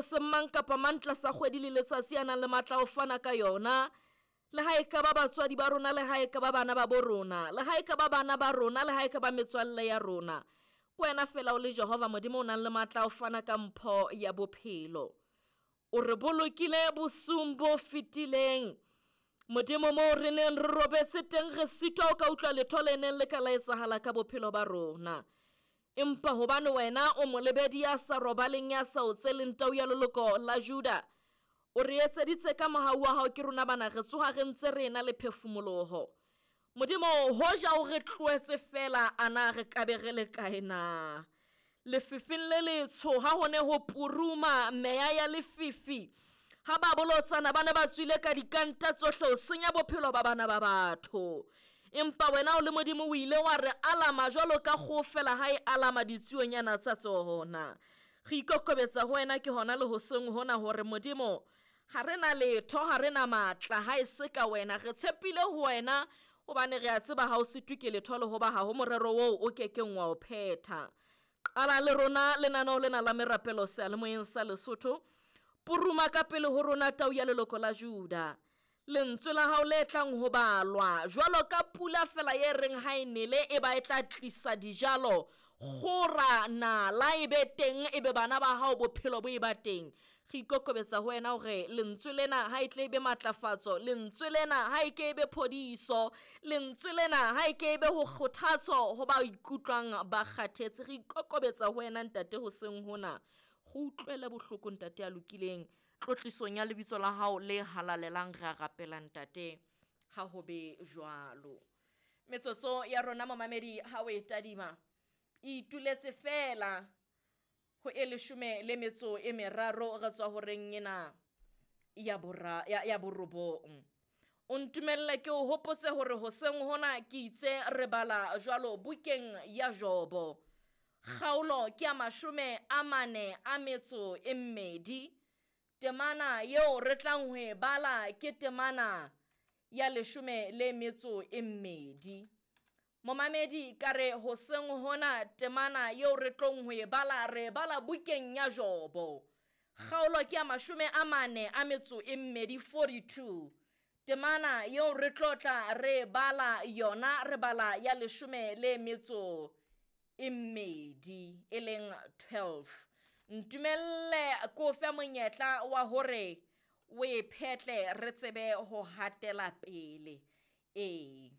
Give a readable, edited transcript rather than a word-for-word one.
Seng mang kapa mang tlasa kgwedi le letsatsi a nang le matla a ho fana ka yona, le ha e ka ba batswadi ba rona, le ha e ka ba bana ba bo rona, le ha e ka ba bana ba rona, le ha e ka ba metswalle ya rona. Ke wena fela o le Jehova Modimo o nang le matla a ho fana ka mpho ya bophelo. O re bolokile bosiung bo fetileng. Modimo moo re neng re robetse teng re sitwa o ka utlwa letho le neng le ka la etsahala ka bophelo ba rona. Empa hobane wena o molebedi ya sa robaleng ya sa otseleng tau ya leloko la Juda, o re etseditse ka mohau wa hao ke rona bana re tsoha re ntse re ena le phefumoloho. Modimo, hoja o re tlohetse feela a na re ka be re le kae na? Lefifing le letsho ha ho ne ho puruma meya ya lefifi, ha ba bolotsana ba ne ba tswile ka dikanta tsohle ho senya bophelo ba bana ba batho. Empa wena o le Modimo o ile wa re alama jwalo ka kgoho fela ha e alama ditsuonyana tsa tsona. Re ikokobetsa ho wena ke hona le hoseng hona hore Modimo ha re na letho, ha re na matla ha e se ka wena. Re tshepile ho wena hobane re a tseba ha o sitwe ke letho le hoba ha ho morero oo o kekeng wa o phetha. Qala le rona lenaneo lena la merapelo seyalemoyeng sa Lesotho. Puruma ka pele ho rona tau ya leloko la Juda. Lentswe la hao le tlang ho balwa jwalo ka pula fela ye reng ha e nele e ba e tla tlisa dijalo, kgora, nala e be teng, e be bana ba hao bophelo bo e ba teng. Re ikokobetsa ho wena hore lentswe lena ha e tle e be matlafatso, lentswe lena ha e ke e be phodiso, lentswe lena ha e ke e be ho kgothatso ho ba ikutlwang ba kgathetse. Re ikokobetsa ho wena ntate hoseng hona. Re utlwele bohloko ntate ya lokileng. Tlotlisong ya lebitso la hao le halalelang re a rapela ntate, ha ho be jwalo. Metsotso ya rona momamedi ha o e tadima e ituletse fela ho e leshome le metso e meraro re tswa horeng ena ya bora ya, ya borobong. O ntumelle ke o hopotse hore hoseng hona ke itse re bala jwalo bukeng ya Jobo. Kgaolo ke ya 42. Temana eo re tlang ho e bala ke temana ya 12. Momamedi ka re hoseng hona temana eo re tlong ho e bala re e bala bukeng ya Jobo. Kgaolo ke ya 42, 42. Temana eo re tlo tla re bala yona re bala ya 12 e leng 12. Ntumelle ko fe monyetla wa hore o e phetle re tsebe ho hatela pele. Ee.